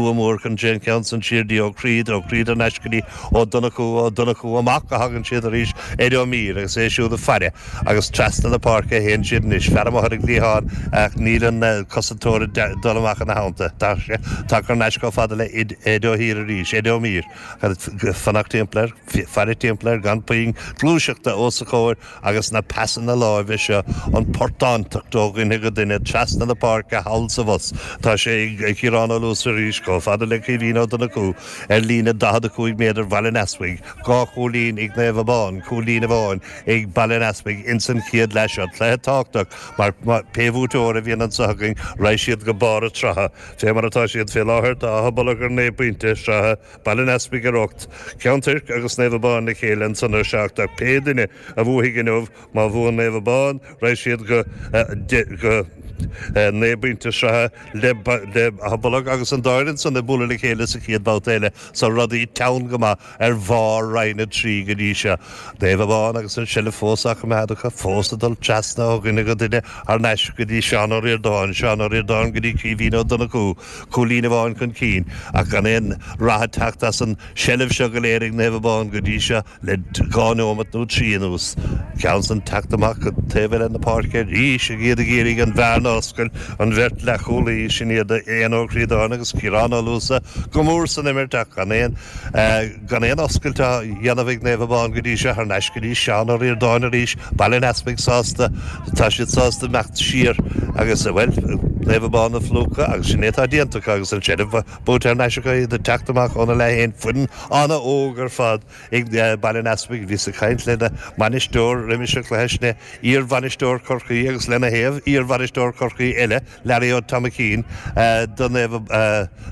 Slua mór chun an ceann san siar dtí Ó Críd, Ó Críd thar n-ais go dtí Ó Donnchú, Ó Donnchú amach a thagann siad arís, Ed Ó Mír agus é siúd ag faire agus trasna na páirce a théann siad anois. Fear amuigh ar an gcliathán ach níl an cosantóir ag dul amach ina theannta. Tá sé tagtha thar n-ais chomh fada le Ed Ó hÍr arís, Ed Ó Mír ag fanacht timpeall air, faire timpeall air gan puinn gluaiseachta os a chomhair agus na pasanna láimhe seo, an portántacht ó dhuine go duine trasna na páirce thall 's abhus. Tá sé ag Ciarán Ó Luasa arís, chomh fada le Caoimhín Ó Donnchú ar líne 45 méadar Bhaile an Easpaig, dhá chúilín ag Naomh Abán, cúilín amháin ag Baile an Easpaig ins an chéad leath seo. Cluiche tábhachtach mar pé bhuaiteoir a bhíonn anseo againn raghaidh siad go barr an tsratha. Fé mar atá siad fé láthair tá Áth Bolg ar 9 bpointe sraithe, Baile an Easpaig ar 8, Ceann Toirc agus Naomh Abán le chéile ansan ar 7 ach pé duine a bhuafaidh inniu, má bhuann Naomh Abán, raghaidh siad go go 9 bpointe sraithe le le Áth Bolg agus an dá fhoireann san ag bualadh le chéile sa chéad bhabhta eile so rudaí teann go maith ar bharr Roinn 3 go dtí seo. Naomh Abán agus an seilbh fós á coimeád acu, fós ag dul trasna ó dhuine go duine thar n-ais go dtí Seán Ó Ríordáin, Seán Ó Ríordáin go dtí Caoimhín Ó Donnchú. Cúilín amháin chun cinn ach gan aon rath ag teacht as an seilbh seo go léir ag Naomh Abán go dtí seo le dhá neomat nó trí anuas. Ceann san teacht amach go taobh eile na páirce arís ag iad ag iarraidh an bhearna a oscailt, an bheirt leathchúlaí, sin iad Éanna Ó Críodáin agus Ciarán Ó Luasa go mór san imirt ach gan aon gan aon oscailt á dhéanamh ag Naomh Abán go dtí seo. Thar n-ais go dtí Seán Ó Ríordáin arís. Baile an Easpaig sásta, tá siad sásta imeacht siar agus, bhuel, Naomh Abán a phlúchadh agus sin é atá déanta acu agus an tseilbh buaite thar n-ais acu, iad ag teacht amach óna leath féin. Foireann an-óg ar fad ag Baile an Easpaig. Bhíos ag caint lena mbainisteoir roimis an chluiche, sin é iar-bhainisteoir Chorcaí agus lena thaobh, iar-bhainisteoir Chorcaí eile, Learaí Ó Tomaicín do Naomh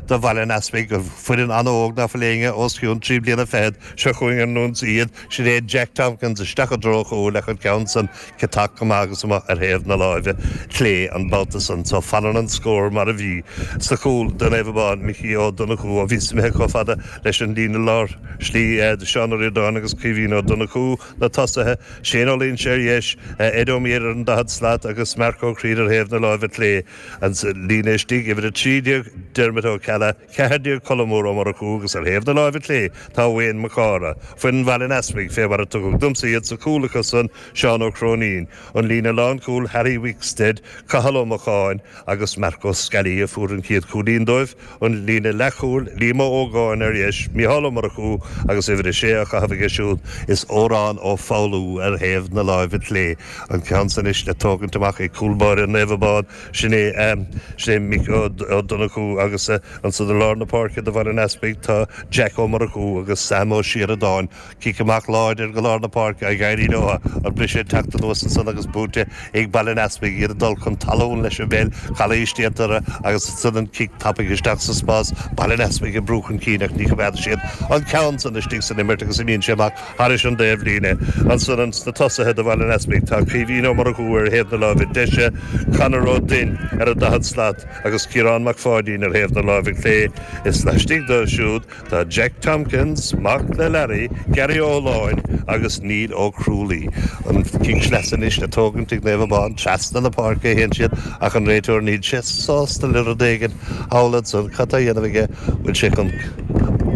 do Bhaile an Easpaig, foireann an-óg ná fuil éinne os cionn 3 bliana fichead. Seo chugainn ar an ionsaí iad. Sin é Jack Tompkins isteach i dtreo chúil ach an ceann san ciotach go maith agus amuigh ar thaobh na láimhe clé an babhta san. So fanann an scór mar a bhí. Sa chúl do Naomh Abán, Micí Ó Donnchú ó bhíos imithe chomh fada leis an líne lár slí, Seán Ó Ríordáin agus Caoimhín Ó Donnchú. Na tosaithe, Shane Ó Loinsigh ar dheis, Ed Ó Mír ar an 40 slat agus Marc Ó Críd ar thaobh na láimhe clé. An líne istigh, uimhir 13, Dermot Ó Ceallaigh, 14 Colm Mór Ó Murchú agus ar thaobh na láimhe clé tá Wayne Mac Cártha. Foireann Bhaile an Easpaig, fé mar a tugadh domsa iad sa chúl acu san, Seán Ó Cróinín. An líne lánchúil, Harry Wickstead, Cathal Ó Mocháin agus Marc Ó Scalaí a fuair an chéad chúilín dóibh. An líne leathchúil, Liam Ó hÓgáin ar dheis, Mícheál Ó Murchú agus uimhir a sé á chaitheamh aige siúd is Odhrán Ó Foghlú ar thaobh na láimhe clé. An ceann san anois le tógaint amach ag cúl báire Naomh Abán, sin é sin é Mick Ó Donnchú agus ansan i lár na páirce do Bhaile an Easpaig tá Jack Ó Murchú agus Sam Ó Síoradáin. Cic amach láidir go lár na páirce ag éirí leo, an briseadh ag teacht anuas ansan agus buaite ag Baile an Easpaig, iad ag dul chun talún leis an bpeil, calaois déanta orthu agus ansan an cic tapaidh isteach sa spás, Baile an Easpaig ag brú chun cinn ach ní choimeádann siad an ceann san istigh san imirt agus imíonn sé amach thairis an dtaobh líne. Ansan sna tosaithe do Bhaile an Easpaig tá Caoimhín Ó Murchú ar thaobh na láimhe deise, Conor Ó Duinn ar an 40 slat agus Ciarán Mac Pháidín ar thaobh na láimhe clé. Is laistigh dóibh siúd Tá Jack Tompkins, mac le Larry, Gary Ó Láin agus Neil Ó Crualaoi. An cic sleasa anois le tógaint ag Naomh Abán. Trasna na páirce a théann siad ach an réiteoir níl sé sásta le rud éigin thall ansan. Cad tá a dhéanamh aige? Bhfuil sé chun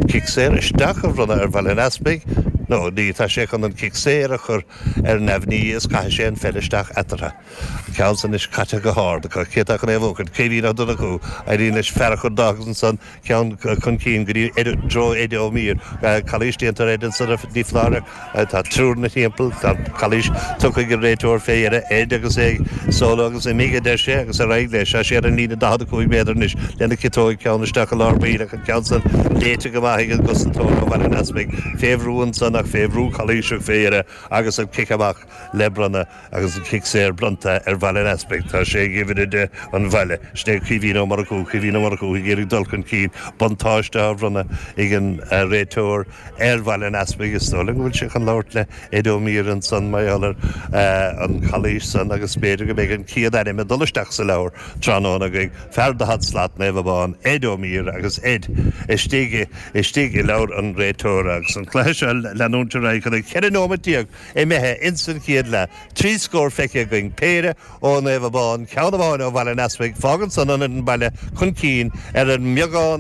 cic saor isteach a bhronnadh ar Bhaile an Easpaig? No, ní, tá sé chun an cic saor a chur ar neamhní is caithfidh sé an pheil isteach eatarthu. An ceann san anois caite go hard acu. Cé atá chun é a bhuachaint? Caoimhín Ó Donnchú. Éiríonn leis fear a chur de agus ansan Ceann chun cinn go dtí i dtreo Eddie Ó Mír. Calaois déanta ar Ed ansan ní foláir ach tá triúr ina thimpeall. Tá calaois tugtha ag an réiteoir fé dheireadh. Ed agus é ag solo agus imigh a deir sé agus ar aghaidh leis. Tá sé ar an líne 45 méadar anois lena chiotóig ceann isteach i lár baill ach an ceann san léite go maith ag an gcosantóir ó Bhaile an Easpaig. Fé bhrú ansan ach fé bhrú calaoiseach fé dheireadh agus an cic amach le bronnadh. Agus an cic saor bronnta ar Bhaile an Easpaig, tá sé ag uimhir 10 an bhaile. Sin é Caoimhín Ó Murchú. Caoimhín Ó Murchú ag iarraidh dul chun cinn. Buntáiste á bhronnadh ag an réiteoir ar Bhaile an Easpaig. Is dóigh liom go bhfuil sé chun labhairt le Ed Ó Mír ansan mar gheall ar an chalaois san agus b'fhéidir go mbeidh an chéad ainm ag dul isteach sa leabhar tráthnóna againn. Fear 40 slat, Naomh Abán, Ed Ó Mír agus Ed istigh istigh i leabhar an réiteora. Agus an cluiche seo ag leanúint ar aghaidh chun an 14 nóimeat Imithe ins an chéad leath, 3 scór feicthe againn, péire ó Naomh Abán, ceann amháin ó Bhaile an Easpaig, fágann san ionad an baile chun cinn ar an mbeagán.